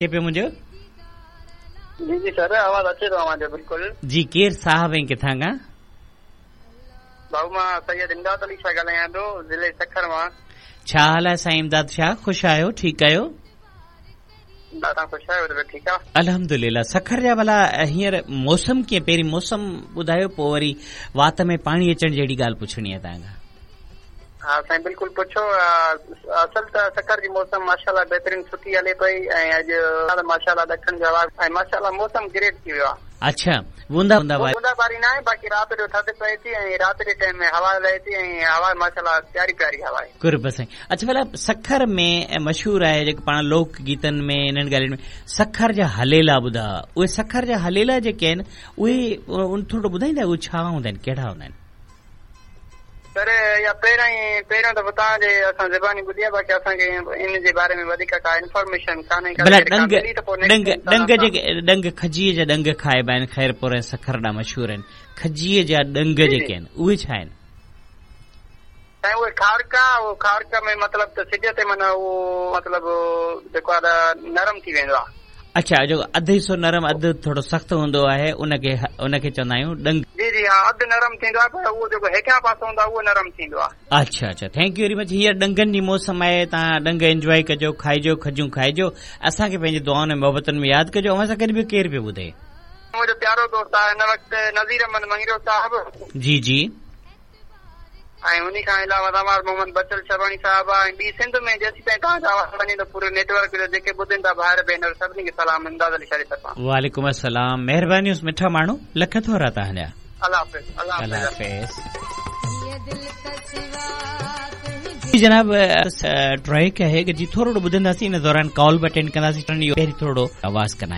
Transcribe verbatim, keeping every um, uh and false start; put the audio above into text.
पियो मुंहिंजो? जी जी सर, आवाज़ अचे थो अव्हांजो बिल्कुलु। जी, केरु साहब ऐं किथां खां? भाऊ, मां सैयद इमदाद अली शाह ॻाल्हायां थो, ज़िले सखर मां। छा हाल आहे साईं इमदाद शाह? ख़ुशि आहियो, ठीकु आहियो? तव्हां ख़ुशि आहियो? ठीकु आहे, अल्हम्दुलिल्लाह। सखर जा भला हींअर मौसम कीअं? पहिरीं मौसम ॿुधायो, पोइ वरी वात में पाणी अचण जहिड़ी ॻाल्हि पुछणी आहे तव्हां खां। हा साईं, बिल्कुलु पुछो। असल त सखर जी मौसम माशाल्लाह बहितरीन सुठी हले पई ऐं अॼु माशाल्लाह ॾखण जो हवा ऐं माशाल्लाह मौसम ग्रेट थी वियो आहे। अच्छा, बूंदा बूंदा बूंदाबारी न आहे, बाक़ी राति जो थधि पए थी ऐं राति जे टाइम में हवा लहे थी ऐं हवा माशाल्लाह प्यारी प्यारी हवा आहे। कुर्ब साईं। अच्छा भला सखर में मशहूर आहे जेको पाण लोक गीतनि में इन्हनि ॻाल्हियुनि में सखर जा हलेला ॿुधा, उहे सखर जा हलेला जेके आहिनि उहे उन थोरो ॿुधाईंदा, उहे छा हूंदा आहिनि, कहिड़ा हूंदा आहिनि? सर, या पहिरियों ई पहिरियों दफ़ो तव्हांजे असां ज़बानी ॿुधी आहे, बाक़ी असांखे इन जे बारे में वधीक का इन्फॉर्मेशन कान्हे। भला ॾंग ॾंग ॾंग जेके ॾंग खजीअ जा ॾंग खाइबा आहिनि, ख़ैरपुर ऐं सखर ॾांहुं मशहूर आहिनि, खजीअ जा ॾंग जेके आहिनि उहे छा आहिनि? साईं, उहे खारका, उहो खारका में मतिलबु त सिज ते माना उहो मतिलबु जेको आहे त नरम थी वेंदो आहे। अच्छा, जो अधु हिसो नरम अधु थोरो सख़्तु हूंदो आहे उनखे उनखे चवंदा आहियूं ॾंग। जी जी हा, अधु नरम थींदो आहे पर उहो जेको हेठियां पासो हूंदो आहे उहो नरम थींदो आहे। अच्छा अच्छा, thank you very much. हींअर ॾंगनि जी मौसम आहे, तव्हां ॾंग एंजॉय कजो, खाइजो, खजूं खाइजो, असांखे पंहिंजी दुआउनि ऐं मोहबतुनि में यादि कजो। अव्हां सां गॾु ॿियो केरु पियो ॿुधे? मुंहिंजो प्यारो दोस्त आहे हिन वक़्तु नज़ीर अहमद मंगरियो साहब। जी जी। ऐं उन खां अलावा तमाम मोहम्मद बचल शबानी साहब आहे ऐं ॿी सिंध में जेसीं ताईं तव्हांजो आवाज़ वञे थो पूरे नेटवर्क जो जेके ॿुधनि था भाइर भेनर सभिनी खे सलाम इमदाद अली शाह जी तरफ़ां। वालेकुम अस्सलाम, महिरबानी मिठा माण्हू, लख थोरा तव्हांजा। अल्लाह हाफ़िज़। अल्लाह हाफ़िज़। जनाब, ट्रैक आहे जी थोरो ॿुधंदासीं, इन दौरान कॉल बि अटेंड कंदासीं, पहिरीं थोरो आवाज़ कंदा।